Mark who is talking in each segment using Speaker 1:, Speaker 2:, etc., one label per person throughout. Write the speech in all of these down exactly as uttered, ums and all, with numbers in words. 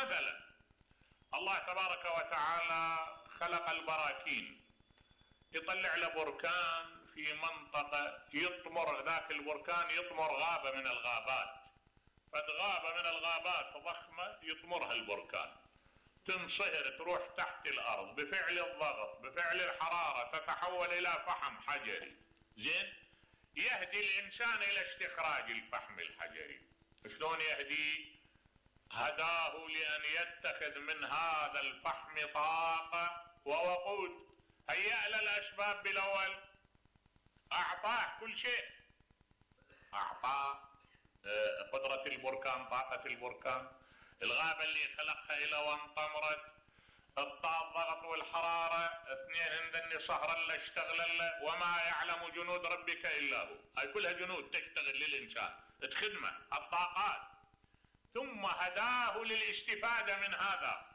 Speaker 1: مثلا الله تبارك وتعالى خلق البراكين، يطلع له بركان في منطقة يطمر، ذاك البركان يطمر غابة من الغابات، فغابة من الغابات ضخمة يطمرها البركان، تنصهر تروح تحت الأرض بفعل الضغط بفعل الحرارة تتحول إلى فحم حجري. زين، يهدي الإنسان إلى استخراج الفحم الحجري. شلون يهدي؟ هداه لأن يتخذ من هذا الفحم طاقة ووقود. هيأ له الأسباب بالأول، أعطاه كل شيء، أعطاه قدرة البركان، طاقة البركان، الغابة اللي خلقها إلى وانطمرت، الضغط والحرارة، اثنين هندن صهرا له اشتغل له، وما يعلم جنود ربك إلا هو. هاي كلها جنود تشتغل للإنسان تخدمه، الطاقات. ثم هداه للاستفادة من هذا،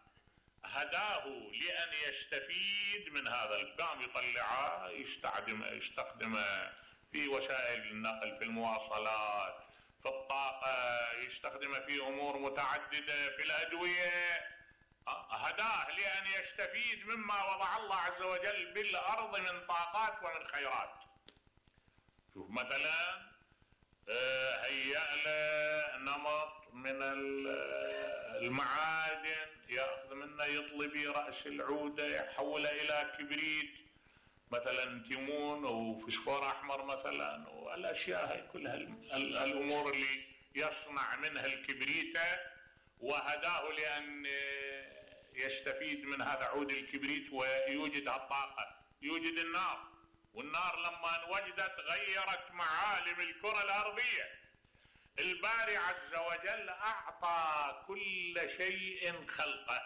Speaker 1: هداه لأن يستفيد من هذا الفحم، يطلعه يستخدمه يستخدمه في وسائل النقل، في المواصلات، في الطاقة، يستخدمه في أمور متعددة، في الأدوية. هداه لأن يستفيد مما وضع الله عز وجل بالأرض من طاقات ومن خيرات. شوف مثلا هيأ له نمط من المعادن، يأخذ منه يطلي برأس العودة يحوله إلى كبريت، مثلا تيمون وفسفور أحمر مثلا، والأشياء هي كلها الأمور اللي يصنع منها الكبريتة. وهداه لأن يستفيد من هذا عود الكبريت ويوجد الطاقة، يوجد النار، والنار لما وجدت غيرت معالم الكرة الأرضية. الباري عز وجل أعطى كل شيء خلقه،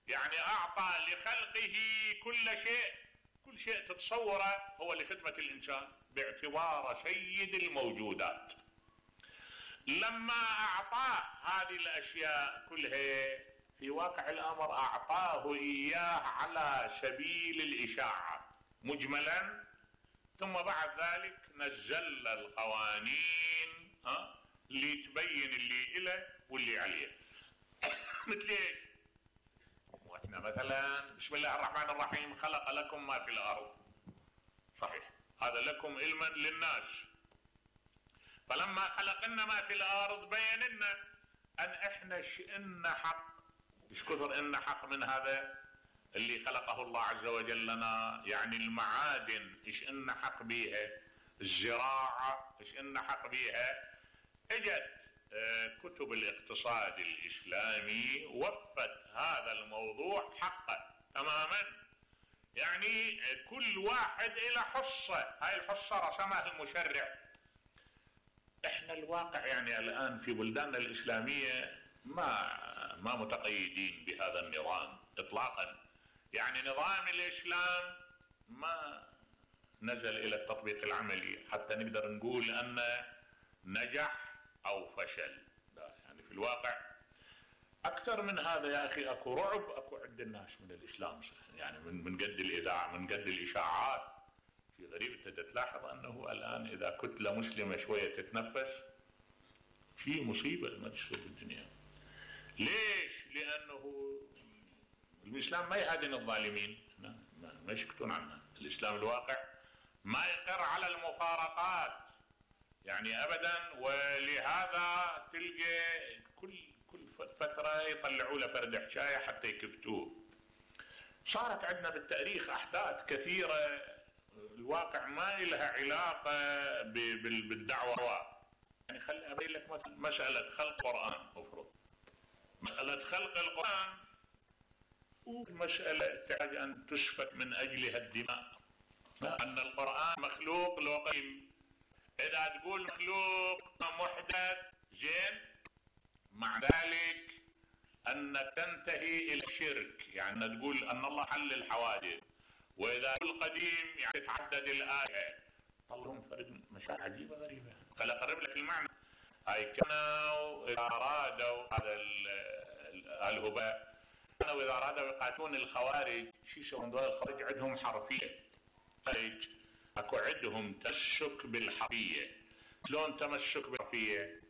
Speaker 1: يعني أعطى لخلقه كل شيء، كل شيء تتصوره هو لخدمة الإنسان باعتباره سيد الموجودات. لما أعطاه هذه الأشياء كلها في واقع الأمر أعطاه إياه على سبيل الإشاعة مجملا، ثم بعد ذلك نزل القوانين ها اللي تبين اللي إله واللي عليه. مثل ايش؟ واحنا مثلا بسم الله الرحمن الرحيم خلق لكم ما في الأرض، صحيح هذا لكم علما للناس. فلما خلق لنا ما في الأرض بين لنا أن احنا شئنا حق، ايش كثر إن حق من هذا اللي خلقه الله عز وجل لنا، يعني المعادن ايش إن حق بيها، الزراعة ايش إن حق بيها. اجت كتب الاقتصاد الإسلامي وفت هذا الموضوع حقه تماما، يعني كل واحد إلى حصة، هاي الحصة رسمها المشرع. احنا الواقع يعني الآن في بلداننا الإسلامية ما ما متقيدين بهذا النظام اطلاقا، يعني نظام الإسلام ما نزل إلى التطبيق العملي حتى نقدر نقول أنه نجح أو فشل. يعني في الواقع أكثر من هذا يا أخي، أكو رعب أكو عند الناس من الإسلام، يعني من من قد الإذاعة، من قد الإشاعات. في غريب أنت تلاحظ أنه الآن إذا كتلة مسلمة شوية تتنفس شيء مصيبة ما تصير بالدنيا. ليش؟ لأنه الإسلام ما يهادن الظالمين، ما يسكتون عنه. الإسلام الواقع ما يقر على المفارقات يعني أبدا، ولهذا تلقى كل كل فترة يطلعوا له فرد حشاية حتى يكفتوه. صارت عندنا بالتاريخ أحداث كثيرة الواقع ما لها علاقة بالدعوة. يعني خلي أبين لك مثلا مسألة خلق القرآن، مفروض مسألة خلق القرآن والمسألة تحتاج أن تسفك من أجلها الدماء، أن القرآن مخلوق لو قيم. إذا تقول مخلوق محدث زين، مع ذلك أن تنتهي إلى الشرك، يعني تقول أن الله حل الحوادث. وإذا تقول قديم يعني تتعدد الآية. طلعهم فرد مشاعر عجيبة غريبة. خل أقرب لك المعنى. هاي كانوا إذا أرادوا هذا الهباء، كانوا إذا أرادوا يقاتلون الخوارج، شو يسوون دول الخوارج؟ عندهم حرفية، اكو عندهم تمسك بالحرفية. شلون تمسك بالحرفية؟